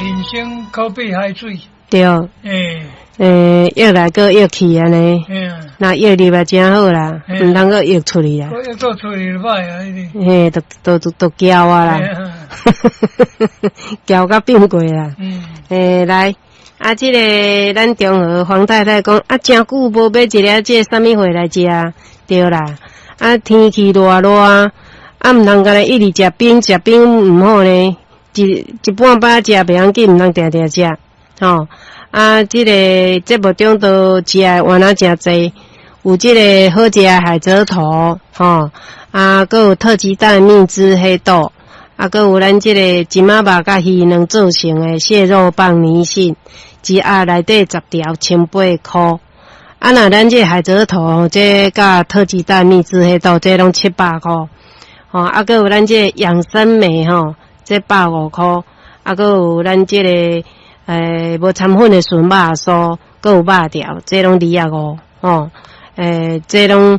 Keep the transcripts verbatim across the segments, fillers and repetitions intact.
人生可比海水。對。欸。欸，約來閣約去按呢。嘿啊。若約入來誠好啦，毋通閣約出去啦。閣約出去就歹啊！嘿，都都都都徼啊啦。徼甲變過啦。嗯。欸，來，啊，這个咱中和黃太太講，啊，誠久無買一粒這啥物貨來食，對啦。啊，天氣熱熱，啊，毋通干焦一直食冰，食冰毋好呢。一一半擺食袂要緊，毋通定定食，吼。啊，這个節目中都食的原來誠濟，有這个好食的海蜇頭，吼，啊，閣有特級蛋蜜汁黑豆，啊，閣有咱這个金仔肉佮魚卵做成的蟹肉棒泥蕈，一盒內底十條，千八箍。啊，若咱這个海蜇頭，這佮特級蛋蜜汁黑豆，這攏七百箍。吼，啊，閣有咱這个養生梅吼，這百五箍。啊，閣有咱這个欸無摻粉的純肉酥，閣有肉條，這攏二十五，吼。欸，這攏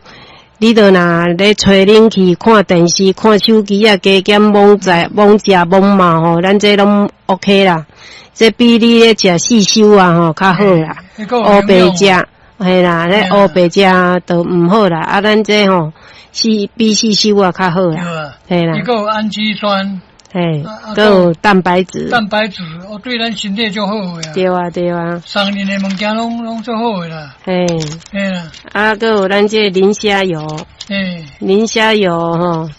你著若咧吹冷氣、看電視、看手機啊，加減罔在罔食罔嘛吼，咱這攏 OK 啦。這比你咧食四修啊吼較好啦。烏白食，嘿啦，咧烏白食都毋好啦。啊，咱這吼是比四修啊較好啦。嘿啦。伊閣有氨基酸。嘿，閣有蛋白質。蛋白質，哦，對咱身體足好的啊。對啊，對啊。送恁的物件攏攏足好的啦。嘿。嘿啦。啊，閣有咱這個磷蝦油。嘿。磷蝦油吼，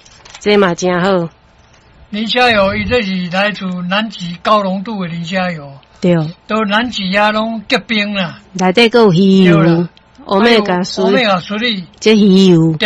這嘛誠好。磷蝦油，伊這是來自南極高濃度的磷蝦油。對。都南極遐攏結冰啦。內底閣有魚油。歐米伽三。歐米伽三。這魚油。